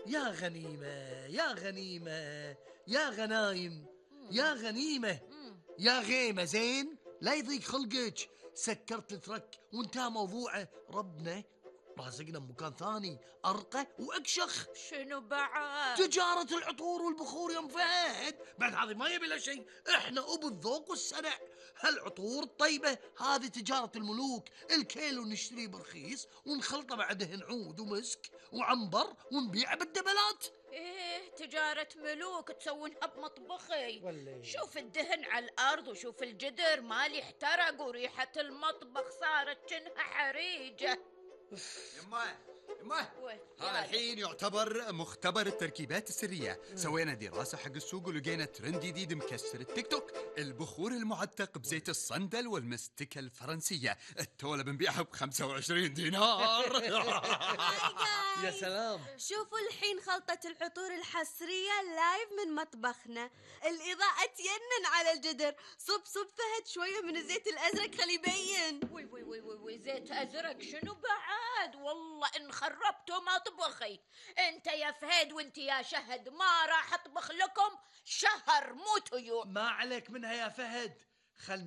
يا غنيمة يا غنيمة يا غنايم يا غنيمة يا غيمة، زين لا يضيق خلقك. سكرت الترك وانتهى موضوعه. ربنا رازقنا بمكان ثاني أرقى وأكشخ. شنو بعد؟ تجارة العطور والبخور يا ام فهد. بعد هذه ما يبي له شيء، احنا ابو الذوق والسنع. هالعطور الطيبة هذه تجارة الملوك. الكيلو نشتريه برخيص ونخلطه مع دهن عود ومسك وعنبر ونبيعه بالدبلات. ايه تجارة ملوك تسوونها بمطبخي. والله. شوف الدهن على الأرض وشوف الجدر مالي احترق وريحة المطبخ صارت كأنها حريجة. يمه وين؟ هذا الحين يعتبر مختبر التركيبات السرية. سوينا دراسة حق السوق ولقينا ترند جديد مكسر التيك توك: البخور المعتق بزيت الصندل والمستكة الفرنسية. التولة بنبيعها ب25 دينار. يا سلام. شوفوا الحين خلطة العطور الحصرية لايف من مطبخنا. الإضاءة تينن على الجدر. صب فهد شوية من الزيت الأزرق خلي يبين. وي زيت أزرق شنو بعد؟ والله إن خربتوا مطبخي. أنت يا فهد وأنت يا شهد ما راح أطبخ لكم شهر، مو طيور. ما عليك منها يا فهد. خل